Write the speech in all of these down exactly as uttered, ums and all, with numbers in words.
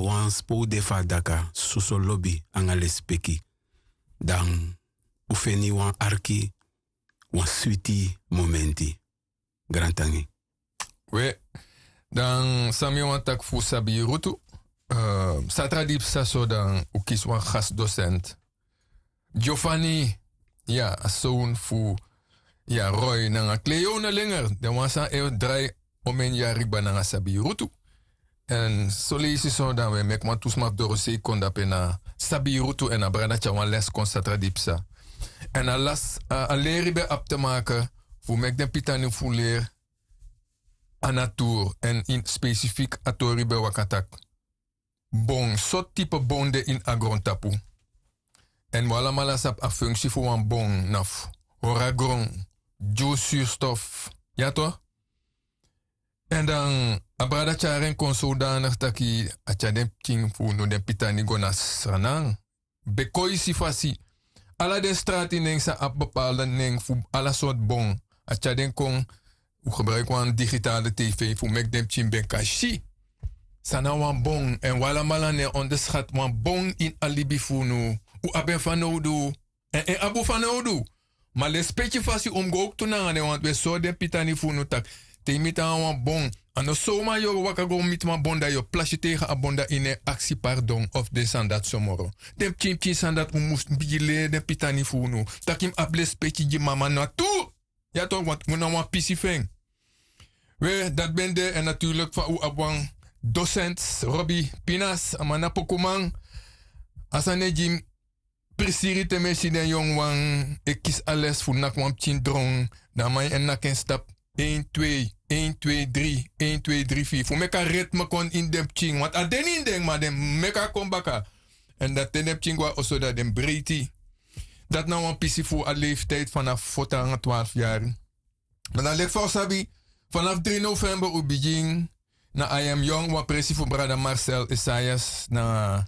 wan spo un de fu a daka soso lobi nanga lespeki, dan un feni wan arki wan switi momenti. Grantangi. We, dan san mi wani taki fu sabi yu rutu. Satra di psa so dan un kisi wan gas dosent, giovanni. Ya a sown fu ya roy nanga kleo na lenger den wan san e drai omen yari kba nanga sabi yu rutu. Èn soleisi so dan wi e meki wan tu sma fu dorosei kon dape na sabi yu rutu èn a brada tyari wan les kon satra di psa. Èn a las a leri ben abi te make fu meki den pitani fu leri a natur èn ini spesifik a tori ben waka taki bon sortu tipe bon de ini a grontapu. Èn wi alamala sabi a funksi fu wan bon na fu hori a gron, dyun surstof. Ya to. Èn dan a brada tyari en kon sowdanigi taki a tyari den pikin fu unu den pitani go na sranan. Bekoisi fasi ala den strati nen san abi bepalde nen fu ala sortu bon. A tyari den kon un gebruiki wan digitale tv fu meki den pikin ben kan si san na wan bon èn un alamala no e onderskati wan bon ini a libi fu unu. Un abi en fanowdu èn en abi un fanowdu. Ma lespeki fasi un mus go owktu nanga den wantu un e sori den pitani fu unu tak' te yu miti nanga wan bon a no sowma yu o waka go miti wan bon dan yu o plasi tegen a bon dan yu no e aksi pardon of den sani dati so moro. Den pikinpikin sani dati un mus bigin leri den pitani fu unu tak' yu mus abi lespeki gi mama na tu. Ya tok' wantu un na wan pisi fu en. We dati ben de èn naturlik fa un abi wan dosent, robi pinas a man na pokuman. A sani e gi mi prisiri te mi e si den yongu wan e kisi a les fu naki wan pikin dron. Dan a man e naki en stapu, ein twei, ein twei dri, ein twei dri firi fu meki a ritme kon ini den pikin wantu a de na ini den ma den meki a kon baka. Èn dati te den pikin go na oso dan den mus breiti. Dati na wan pisi fu a leftidi fanafu foti nanga twarfu yari. Ma dan leki fa un sabi, fanafu dri november un bigin na a yam yong wan presi fu brada marcel esaias na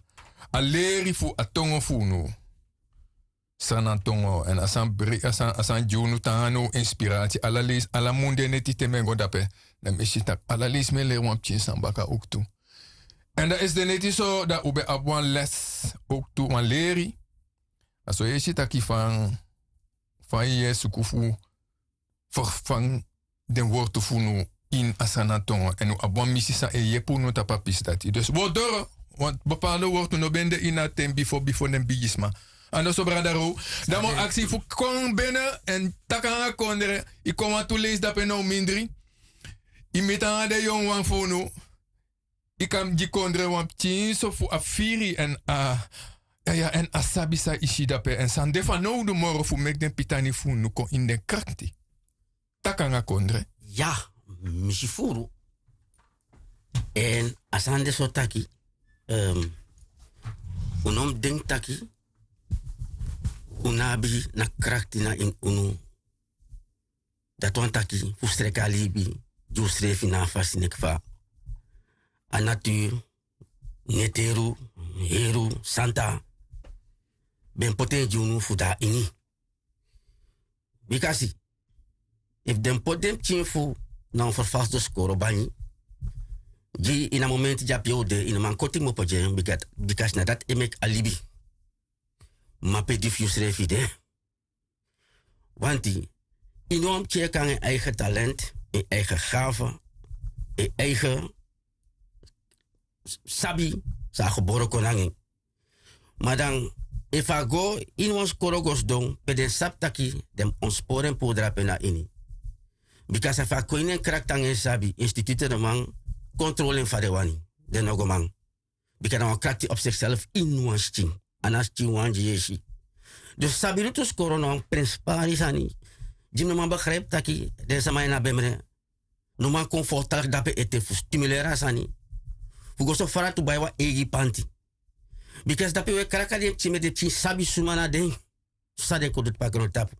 a leri fu a tongo fu unu. Sranantongo èn a sani gi unu tan na un inspirati ala leisi ala mun de neti te mi e go dape, dan mi e si tak' ala leisi mi e leri wan pikin sani baka owktu. Èn dan esi de neti so dan un ben abi wan les owktu wan leri. A so yu e si tak' yu fan yu e suku fu ferfan den wortu fu unu ini a sani na tongo èn un abi wan misi san e yepi unu tapu a pisi dati dus wi o doro. Bepalde wortu no ben de ini a ten bifo bifo den bigisma. Andoso brada row dan mi o aksi fu kon bene èn taki nanga kondre. Yu kon wantu leisi dape na un mindri. Yu miti nanga den yongu wan fu unu. Yu kan gi kondre wan pikin so fu a firi èn a ya èn a sabi san yu si dape èn san de fanowdu moro fu meki den pitani fu unu kon ini den krakti. Taki nanga kondre. Ya, mi si furu. Èn a sani de so taki un no mus denki taki un no abi na krakti na ini unu. Dati wani taki fu sreki a libi gi unsrefi na a fasi neki fa a naturu, neteru, heru, santa ben poti en gi unu fu de na ini. Bika si efu den poti den pikin fu na un ferfasi doskoro banyi gi ini a momenti di a pe un de ini man koti kmopo gi en. Bika si na dati e meki a libi. Ma pe di fu yusrefi de wanti ini wan pikin e kon nanga en eigen talent, en eigen gafe, en eigen sabi san a gebore kon nanga en. Ma dan efu a go ini wan skoro go sidon pe den sabi taki den mus ontspori en puru drape na ini. Bika san efu a kon ini en krakti nanga en sabi institute den man kontrole en fa den wani. Den no go man. Bika na wan krakti op sikself ini wan skin a na skin wan gi yesi. Dus sabi rutu skoro na wan prenspari sani. Gi mi no man begripi taki den sama ini a bemre no man kon fortaligi dape ete fu stimuleri a sani fu go so fara tu bai wan eigi panti. Bika si dape wi e kraka den pikin meti den pikin sabi suma na den. San den kon du tapu a grontapu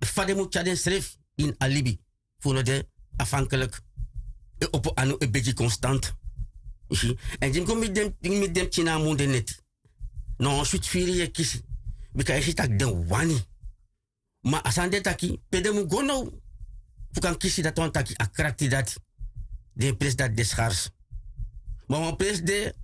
fa den mus tyari densrefi ini a libi fu no de afhankelik. E opo anu e begi konstant. Yu si èn di mi kon miti den pikin na a mun de neti. Na wan switi firi yu e kisi bika yu si tak' den wani. Ma a sani de taki pe den mus go now fu kan kisi dati wani taki a krakti dati. Den presi dati de skars. Ma wan presi de